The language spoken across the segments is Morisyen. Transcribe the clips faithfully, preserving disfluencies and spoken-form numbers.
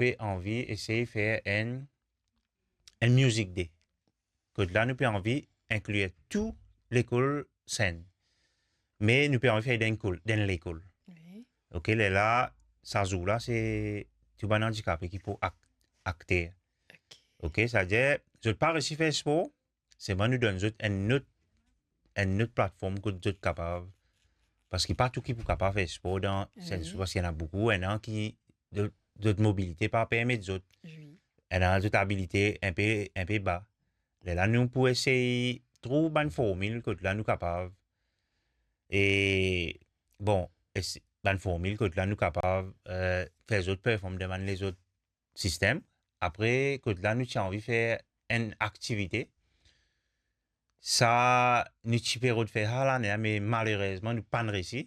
pe anvi esey fer enn, enn music day. Kot la nou pe anvi inklir tou lekol Sinn. Me nou pe anvi fer dan enn lekol, dan enn lekol. Wi. Ok, lerla, sa zour la, se tou bann andikape ki pou ak-, akter. Ok. Ok, savedir, zot pa resi fer spor, selman nou donn zot enn lot, enn lot platform kot zot kapav, parski pa tou ki pou kapav fer spor dan Sinn Sou, wi, parski ena boukou, ena ki, zot, zot mobilite pa permet zot. Wi. Ena zot abilite inpe, inpe ba. Lerla nou pou esey trouv bann formil kot la nou kapav, e, bon, es-, bann formil kot la nou kapav, eh, fer zot perform dan bann lezot sistem. Apre, kot la nou ti anvi fer enn aktivite. Sa, nou ti pe rod fer sa lane, me malerezman, nou pa'nn resi.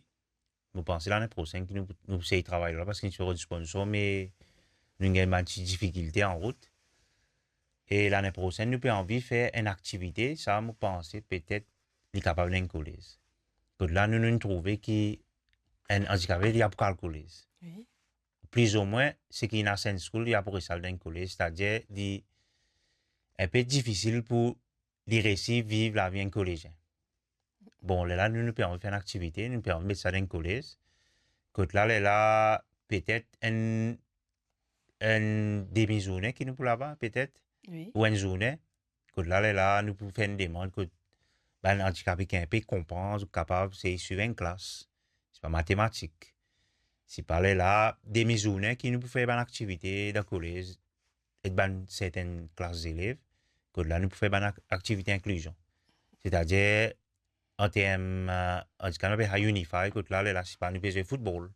Mo panse lane prosenn ki nou, nou sey travay la, parski nou ti rod sponsor, me nou gagn bann ti difikilte an rout. E lane prosenn, nou pe anvi fer enn aktivite, sa, mo panse, petet, li kapav dan enn kolez. Kot la, nou, nou trouve ki enn andikape, li a pou al kolez. Wi. Plizoumwin, seki ena Sinn Sou, li a pou res al dan enn kolez, setadir, li inpe difisil pou li resi viv lavi enn kolezien. Bon, lerla, nou, nou pe anvi fer enn aktivite, nou pe anvi met sa dan enn kolez. Kot la, lerla, petet enn, enn demi zourne ki nou pou laba, petet, wi, ou enn zourne. Kot la, lerla, nou pou fer enn demann kot bann andikape ki inpe konpran, zot kapav sey swiv enn klas, sipa matematik, sipa lerla, demi zourne ki nou pou fer bann aktivite dan kolez, ek bann sertenn klas zelev, kot la nou pou fer bann ak-, aktivite inklizion. Setadir, an term, eh, andikape, nou apel sa unify, kot la, lerla, sipa nou pe zwe foutbol,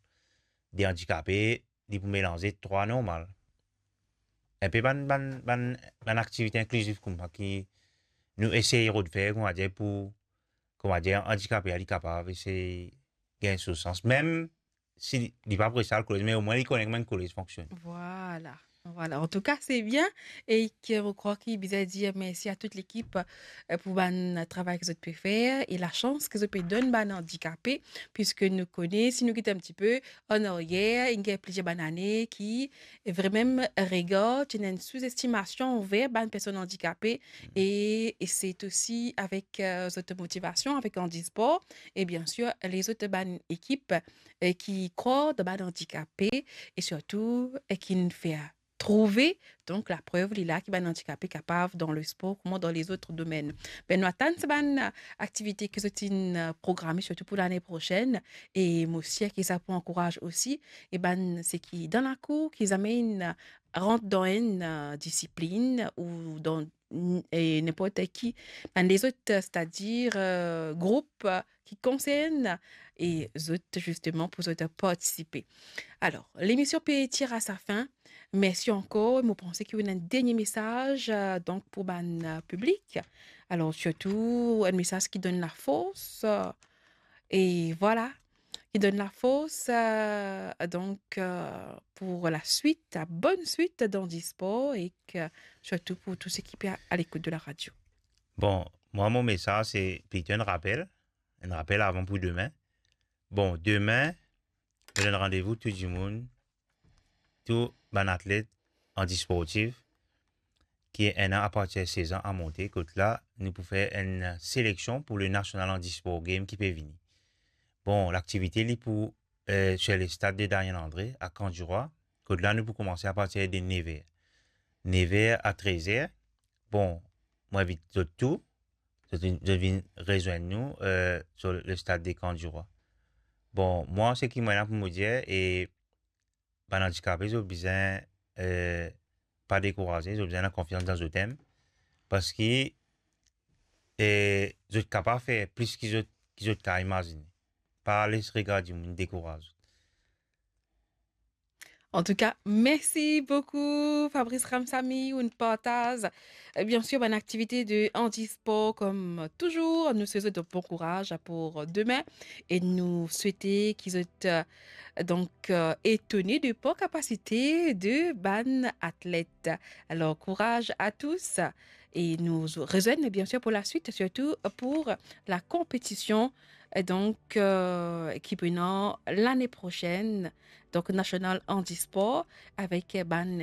de andikape, li pou melanze trwa normal. Inpe bann, bann, bann, bann aktivite inkliziv koumsa ki nou esey rod fer, koumadir pou, koumadir andikape a li kapav esey gagn so sans. Mem si li pa pou res al kolez, me omwin li kone kouma enn kolez fonksionn. Vwala, vwala. Antouka, se bien. E ke mo krwar ki bizin dir mersi a tout lekip, eh, pou bann travay ki zot pe fer e lasans ki zot pe donn bann andikape, piske nou kone, si nou gete enn tipe an aryer, inn gagn plizier bann ane ki vremem regar, ti ena enn souzestimasion anver bann personn andikape, e, e se osi avek, eh, zot motivasion, avek Handisport, e biensir, lezot bann ekip, eh, ki krwar dan bann andikape, e sirtou, eh, ki inn fer trouve, donk, laprev li la ki bann andikape kapav dan lespor, kouma dan lezot domenn. Be, nou atann sa bann, eh, aktivite ki zot inn, eh, programe, sirtou pou lane prosenn, e mo sir ki sa pou ankouraz osi, e bann seki dan lakour, ki zame inn, eh, rant dan enn, eh, disiplinn ou dan n-, e ninport ki, bann lezot, eh, setadir, eh, group, eh, ki konsern e zot, zisteman, pou zot partisipe. Alor, lemision pe tir a sa fin. Mersi ankor. Mo panse ki ou ena enn dernie mesaz, eh, donk, pou bann, eh, piblik. Alor, sirtou, enn mesaz ki donn lafors, eh, e vwala, ki donn lafors, eh, donk, eh, pou laswit, la bonn swit dan Handisport e ke, sirtou pou tou seki pe a, a lekout de la radio. Bon, mwa, mo mesaz, se plito enn rapel, enn rapel avan pou demin. Bon, demin, mo donn randevou tou dimoun, tou bann atlet, handisportif, ki ena apartir sez an a monte, kot la, nou pou fer enn seleksion pou le National Handisport Game ki pe vini. Bon, laktivite, li pou, eh, sir lestad de Daniel André, a Camp du Roi, kot la, nou pou koumanse apartir de nev er. Nev er a trez er. Bon, mo invit zot tou, zot vinn, zot vinn rezwenn nou, eh, sir lestad de Camp du Roi. Bon, mwa, seki mo ena pou mo dir, e bann andikape, zot bizin, eh, pa dekouraze, zot bizin ena konfians dan zot mem, parski, eh, zot kapav fer plis ki zot, ki zot kapav imazine. Pa les regar dimoun dekouraz zot. Antouka, mersi boukou, Fabrice Ramsamy, ou'nn partaz, eh, biensir, bann aktivite de handispor, kom touzour. Nou swete zot bon kouraz pou demin e nou swete ki zot, eh, donk, eh, etone de par kapasite de bann atlet. Alor, kouraz a tous e nou rezwenn, biensir, pou laswit, sirtou pou la konpetision, eh, donk, eh, ki pou ena lane prosenn. Donk, National Handisport avek, eh, bann